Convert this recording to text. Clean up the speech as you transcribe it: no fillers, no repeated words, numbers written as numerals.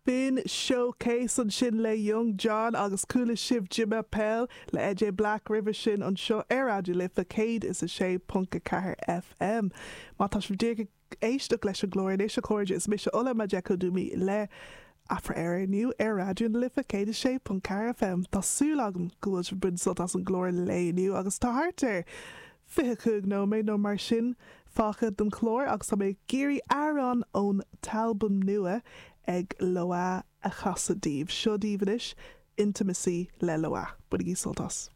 B'in Showcase ansin le Young Jonn agus chuala sibh Je M'appelle le AJ Black roimhe sin anseo ar Raidió Life 106.4 FM. Má tá sibh díreach ag éisteacht leis an gclár anois, a chairde, is mise Ola Majekodunmi le Afra Éire inniu ar Raidió na Life 106.4 FM. Tá súil agam go bhfuil sibh ag baint sult as an gclár lae inniu agus tá thart ar 25 nóiméad nó mar sin fágtha den chlár agus tá mé ag iarraidh amhrán ón t-albam nua ag Loah a chasadh daoibh. Seo daoibh anois, Intimacy le Loah. Bainigí sult as.